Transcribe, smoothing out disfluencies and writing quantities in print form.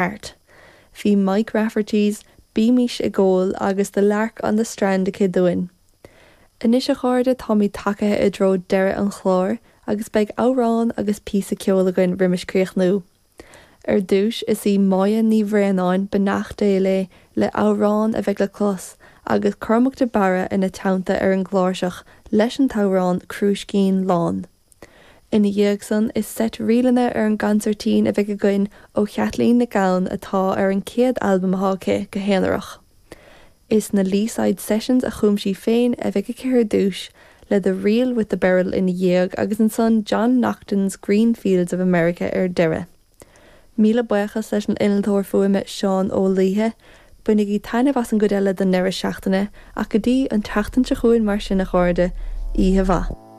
Heart. Bhí Mike Rafferty's Bímís ag Ól agus The Lark on the Strand aici dúinn. Anois a chairde táimid tagaithe i dtreo deireadh an chláir agus beidh amhrán agus píosa ceoil againn roimis críochnú. Ar dtúis is í Máire Ní Bhraonáin, beannacht Dé léi, le amhrán a bheidh le clos agus Cormac de Barra ina teannta ar an gcláirseach leis an t-amhrán Crúiscín Lán. Ina dhiaidh san, is seit ríleanna ar an gconsairtín a bheidh againn ó Chaitlín Nic Gabhann atá ar an chéad albam atá aici go haonarach. Is na Leeside Sessions a chum sí féin a bheidh aici ar dtús, le The Reel with the Beryl ina dhiaidh agus ansan John Naughton's Green Fields of America ar deireadh. Míle buíochas leis an innealtóir fuaime Seán Ó Laoithe. Bainigí taitneamh as an gcuid eile den ndeireadh seachtaine ach go dtí an tseachtain seo chugainn mar sin a chairde, oíche mhaith.